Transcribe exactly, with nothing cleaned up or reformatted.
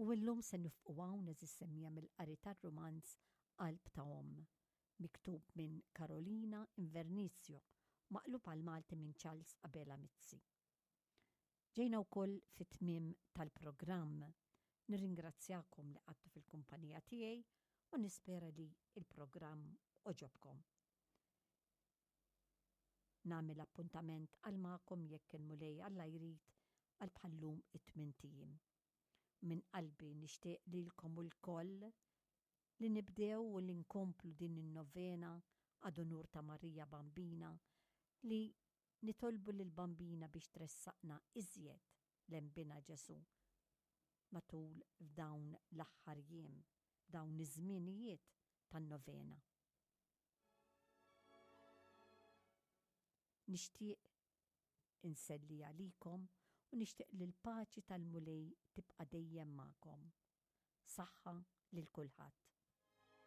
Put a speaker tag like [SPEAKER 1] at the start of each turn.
[SPEAKER 1] U illum se nifqu hawn, għeżież semmiegħa, mill-qari tar-rumanz Qalb ta' Omm, miktub minn Carolina Invernizio, maqlub għal Malti minn Charles Abela Mizzi. Ġejna wkoll fit-tmiem tal-programm. Nirringrazzjakom li qgħadtu fil-kumpanija tiegħi u nispera li il-programm għoġobkom. Nagħmel appuntament għal magħkom, jekk il-Mulej Alla jrid, għal bħallum it-tmint ijiem. Minn qalbi nixtieq lilkom ukoll li nibdew u li nkomplu din in-novena ad unur ta' Marija Bambina, li nitolbu lil Bambina biex tressaqna iżjed lejn Binha Ġesù matul f'dawn l-aħħar jiem, dawn iż-żminijiet tan-novena. Nixtieq inselli għalikom u nixtieq li l-paċi tal-Mulej tibqa' dejjem magħkom. Saħħa lil kulħadd.